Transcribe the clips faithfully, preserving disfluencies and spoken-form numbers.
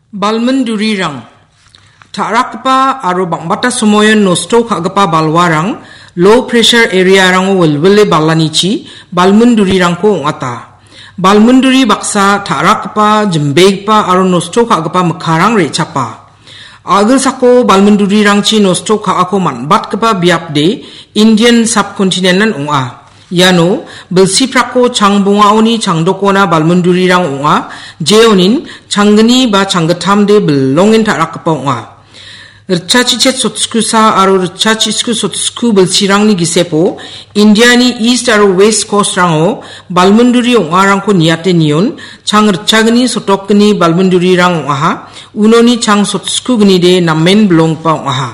Balmundurirang. Ta·rakgipa aro bang·bata somoion nosto ka·gipa balwarang, low pressure area-rango wilwile balanichi balmundurirangko ong·ata. Balmunduri baksa ta·rakgipa, jimbegipa aro nosto ka·gipa mikkarang re·chapa. A·gilsako balmundurirangchi nosto ka·ako man·batgipa biapde Indian subcontinent-an ong·a. Iano bilsiprakko changbongaoni changdokona balmundurirang ong·a, jeonin changgni ba changgittamde bilongen ta·rakgipa ong·a. Ritchachichet sotskusa aro ritchachitsku sotsku bilsirangni gisepo Indiani East aro West Coast-rango balmunduri ong·arangko niate nion, chang ritchagni sotokgni balmundurirang ong·aha, unoni chang sotskugnide namen bilonggipa ong·aha.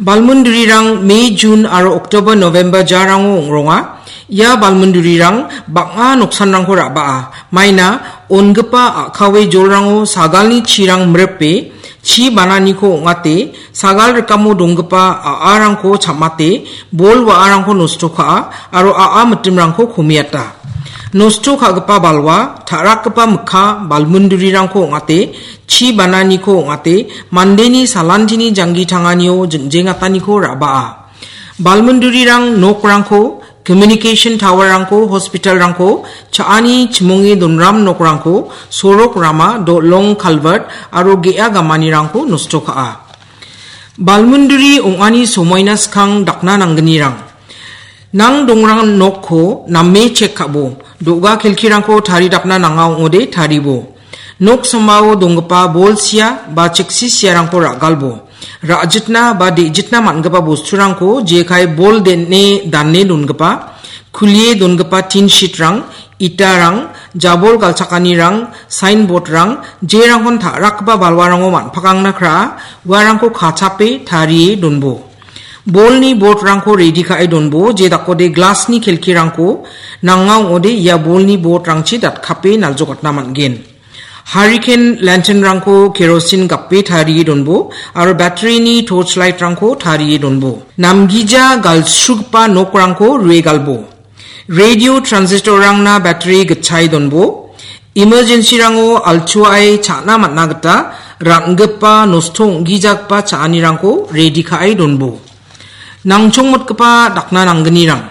Balmundurirang May, June aro October, November jarango ong·ronga. Ia balmundurirang bang·a noksanrangko ra·baa. Maina ongipa a·kawe jolrango sagalni chirang mripe, chi bananiko ong·ate, sagal rikamo donggipa a·arangko cham·ate, bol wa·arangko nosto ka·a aro a·a mitimrangko komiata. Nosto ka·gipa balwa, ta·rakgipa mikka, balmundurirangko ong·ate, chi bananiko ong·ate, mandeni salantini janggi tanganio jingjengataniko ra·baa. Balmundurirang nokrangko, communication tower-rangko, hospital-rangko, cha·ani chimonge donram nokrangko, sorok rama, dolong culvert aro ge·a gamanirangko nosto ka·a. Balmunduri ong·ani somoina skang dakna nanggnirang. Nang dongrang nokko name chek ka·bo. Do·ga kelkirangko taridapna nanga ong·ode taribo. Nok sambao donggipa bol sia ba cheksi siarangko ra·galbo. Ra·jitna ba de·jitna man·gipa bosturangko jekai bol den·e dane dongipa, kulie dongipa tin sheet-rang, itarang, jabol galchakanirang, signboard-rang, jerangkon ta·rakgipa balwarango man·pakangna kra·a, uarangko kachape tarie donbo. Bolni board-rangko ready ka·e donbo, je dakode glass-ni kelkirangko nanga ong·ode ia bolni board-rangchi datkape naljokatna man·gen. Hurricane lantern-rangko kerosene gape tarie donbo, aro battery-ni torch light-rangko tarie donbo. Namgija galsrugipa nokrangko rue galbo. Radio transistor-rangna battery gitchae donbo. Emergency-rango altuae cha·na man·na gita ra·ngipa nosto ong·gijagipa cha·anirangko ready ka·e donbo. Nangchongmotgipa dakna nanggnirang.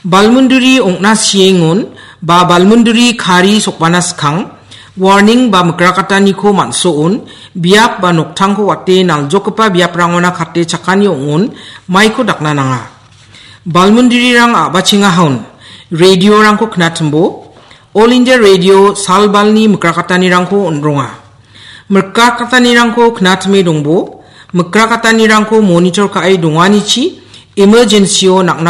Balmunduri ong·na siengon ba balmunduri kari sokbana skang, warning ba mikrakataniko man·soon, biap ba noktangko wate naljokgipa biaprangona kate chakani ong·on, maiko dakna nanga. Balmundurirang a·bachengahaon, radio-rangko knatimbo, All India Radio salbalni mikrakatanirangko on·ronga. Mikrakatanirangko knatime dongbo, mikrakatanirangko monitor ka·e donganichi, emergency-o nang·na